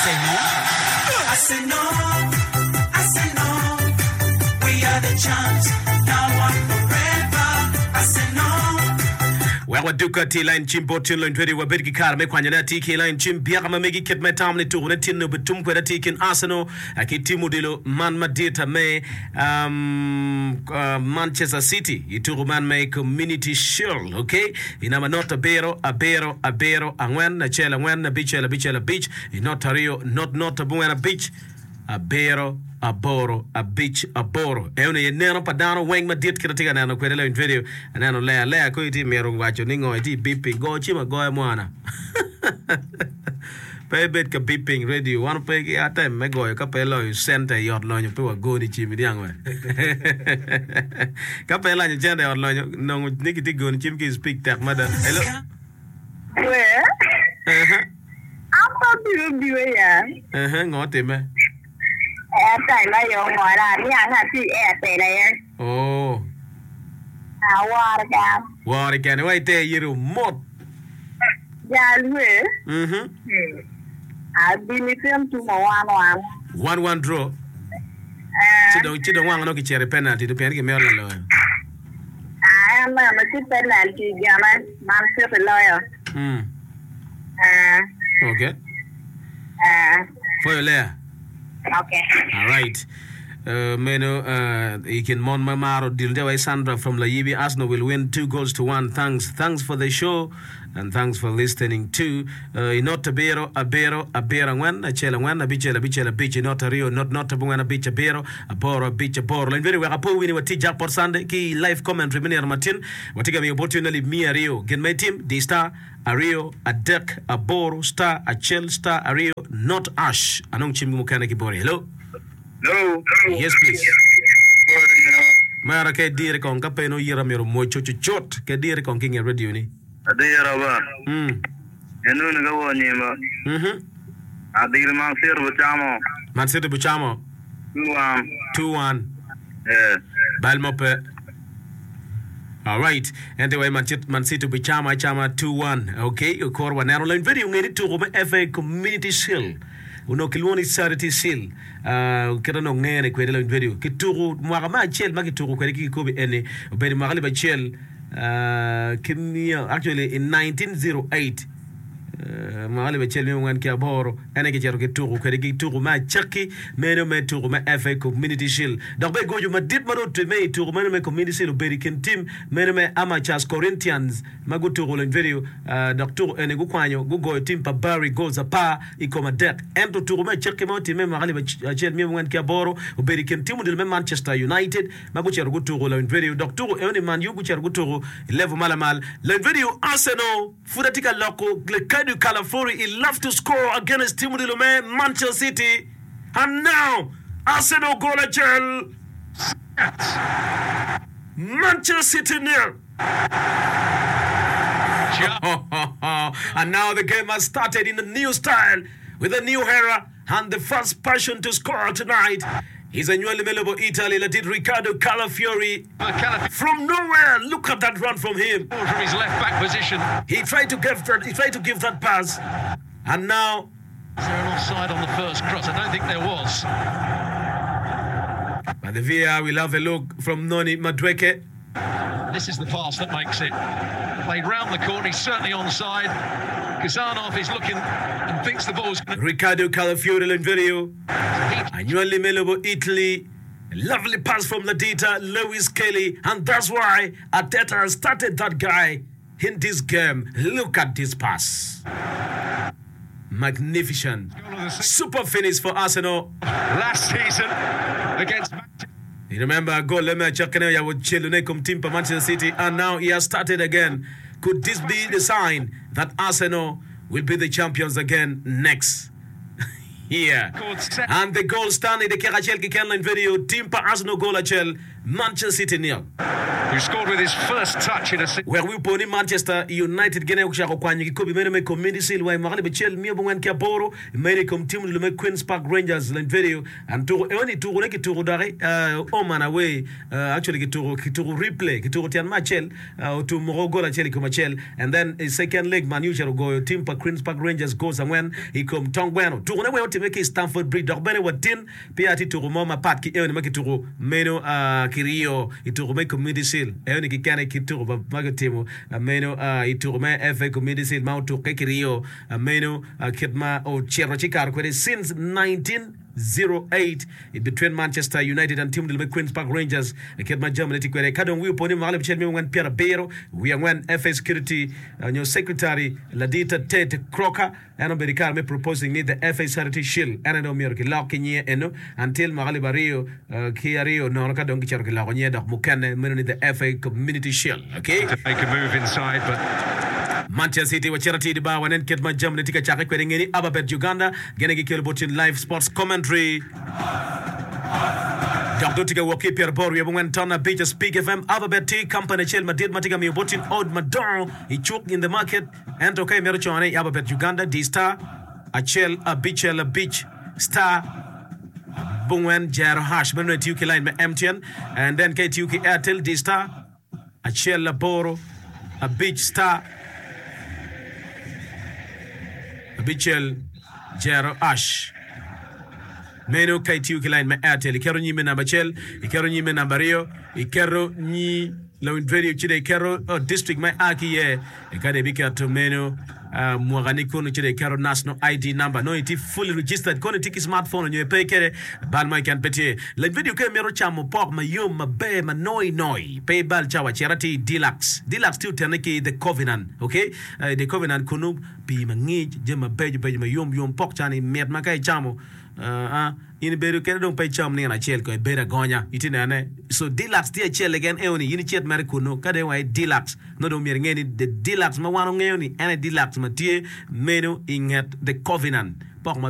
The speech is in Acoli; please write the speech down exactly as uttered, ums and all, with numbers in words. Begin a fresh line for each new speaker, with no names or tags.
say no.
I say no, I say no. We are the champs, now and forever. I say no.
Wek waduka ti line cim bot tin lony twedi wabed ki kare me kwanyone atir ki line cim byeka ma megi kit me tam ni tuko ne tin obedo tum kwede atir kin Arsenal ki tim odilo man madit me um, uh, Manchester City i tuko man me Community Shield okay i namba not abiro abiro abiro angwen acel angwen abicel abicel abic i not aryo not not abongwen abic abiro aboro abic aboro eno ye neno pa dano weng madit kit atye ka neno kwede lawiny radio aneno lea lea ko itye mito waco ni ngo itye beeping go cim agoya mwana pe ibed ka beeping radio wan pe ki atem me goyo ka pe loyo cente i ot lonyo pe wagoni cim iniang we ka pe ilanyo cente i ot lonyo nongo ni kitye goni cim ki i speak tek mada hello
We,
uh-huh.
an pe biro biro ya.
Uh-huh. Ngo time
Airtime aye ongola, aniang atye i Airtel aye.
oh
Aworo kan.
wori kene wa ite yiri mot
Jal we,
mhm
abini tin tumo one one.
one one draw
Eh,
ci dong ci dong wang no kicito i penalty to pien gimito laloyo
ah, en neno ci penalty gene, Man City loyo.
mm.
Eh,
okay
eh,
foyo lea
okay.
all right Uh, meno uh, i kin mon ma maro dil wa Sandra from Layibi Arsenal will win two goals to one thanks thanks for the show and thanks for listening to uh, inot abiro abiro abiro angwen acel angwen abicel abicel abic inot aryo not not abongwen abic abiro aboro abic aboro lany bene wek apo wini watye jackpot Sunday ki live commentary me nino matin watye ka miyo bot tye alip miya aryo gin ma itim di star aryo adek aboro star acel star aryo not ash anong cim mukene ki bori hello
Hello.
yes please mara ke dire kong ka pe no yira miro mocho chuchot ke dire kong ki nge radio ni
Adira ba.
mm
Enu ni ka wo nyima.
mhm
Adil man sir bu chamo.
Man City buchamo
Two one.
two one
Eh.
bal mo pe All right. Ente way Man City, Man City buchama chama two one. Okay, kor waneno lany video ngeni tuko me FA Community Shield. Ono kilwongo ni Charity Shield. Uh, kita no ngene kwede lany video. Kituko mwaka ma acel ma kituko kwede ki kikobi eni. Obedo mwaka alip acel uh, ki miya actually in nineteen oh eight. Uh, mwaka alip acel miya angwen ki aboro ene kicito ki tuko kwede ki tuko me acakki meno me tuko me F A Community Shield dok be gojo madit ma dong otimme i tuko meno me Community Shield obedo i kin tim meno me Amateurs Corinthians ma gutuko lony video uh, dok tuko eni gukwanyo gugoyo tim pa Barry goals apar i kom adek ento tuko me acakki ma otimme i mwaka alip acel miya angwen ki aboro obedo i kin tim odilo me Manchester United ma gucito gutuko lony video dok tuko eni Man U gucito gutuko i level ma lamal lony video Arsenal pud atye ka loko Riccardo Calafiori he love to score against tim odilo me Manchester City and now Arsenal goal acel Manchester City nil and now the game has started in a new style with a new era and the first person to score tonight is a new Melobo Italy Ladid Riccardo Calafiori from nowhere. Look at that run from him.
From his left back position.
He tried to give that, he tried to give that pass and now
Is there an offside on the first cross? I don't think there was.
But the V A R will have a look from Noni Madueke.
This is the pass that makes it. Played round the corner, he's certainly onside. Khusanov is looking and thinks the ball's gonna...
Riccardo Calafiori in video.
He...
Annually Melobo, Italy. Lovely pass from Ladita, Lewis Kelly. And that's why Arteta started that guy in this game. Look at this pass. Magnificent. Super finish for Arsenal.
Last season against...
You remember goal leme chakene ya chelune kom team pa Manchester City, and now he has started again. Could this be the sign that Arsenal will be the champions again next year? And the goal stand in the Kerachel Kikenline video team pa Arsenal goal achel Manchester City nil.
Who scored with his first touch in a season.
Wek wi opo ni Manchester United gin aye gucako kwanyo kikopi meno me Community Shield wa i mwaka alip acel miya abongwen ki aboro medo i kom tim odilo me Queens Park Rangers lany video and tuko eno ni tuko ne kituko doki uh, home and away uh, actually kituko kituko replay kituko tyen me acel uh, otum moko gol acel i kom acel and then i second leg Man U ocito ogoyo tim pa Queens Park Rangers goals angwen i kom tong gweno tuko ne weng otime ki i Stamford Bridge dok bene watin peya tye tuko mo mapat ki eno ni ma kituko meno uh, kiryo i tuko me Community Shield eno ni kikene ki tuko ma ma kitimo uh, meno uh, i tuko me F A Community Shield ma otukke kiryo uh, meno uh, kit ma ocito ci kato kwede since nineteen oh eight between Manchester United and team me Queens Park Rangers kit ma jamine tye kwede ka dong wi opo ni mwaka alip acel miya angwen pyera abiro wiye angwen F A Security uh, nyo Secretary ladita Ted Croker en obedo i kare me proposing ni the F A Charity Shield en aye omyero kilok ki nyinge eno until mwaka alip aryo uh, ki aryo nono ka dong kicito kiloko nyinge dok mukene meno ni the F A Community Shield, okay?
To make a move inside, but
Manchester City wacito atir di bar wanen kit ma jamine tye ka cakke kwede ngeni Ababet Uganda gene gikelo bot live sports commentary dok dong tye ka wok ki pyera aboro wiye abongwen ton abic Speak F M Ababet tye company acel madit ma tye ka miyo botin od madongo i cuk in the market ento ka imito cone i Ababet Uganda di star acel abicel abic star abongwen jero hash meno itiyo ki line me M T N and then ka itiyo ki Airtel di star acel aboro abic star abicel jero hash meno ka itiyo ki line me Airtel iketo nyime namba acel iketo nyime namba aryo iketo nyi lawiny radio ci dong iketo oh, district ma ia ki iye ka dong ibiketo meno uh, mwaka ni kono ci dong iketo national I D number no itye fully registered kono itye ki smartphone nyo ipe kede bal mo keken pe tye lany video ka imito camo pok mayom maber ma noi noi pe ibal cawa cit atir i Deluxe. Deluxe tye otene ki The Covenant, okay? uh, the Covenant kono pii mangic jami mabeco beco mayom yom pok cani mit ma ka icamo uh, uh, in ibedo kede dong pe icam nino acel ko ibedo agonya itye nene. So Deluxe tye acel keken eo ni in icit mere kuno ka dong wa i Deluxe no dong myero inge ni the Deluxe ma wan ongeyo ni en aye Deluxe ma tye meno i nget The Covenant pok ma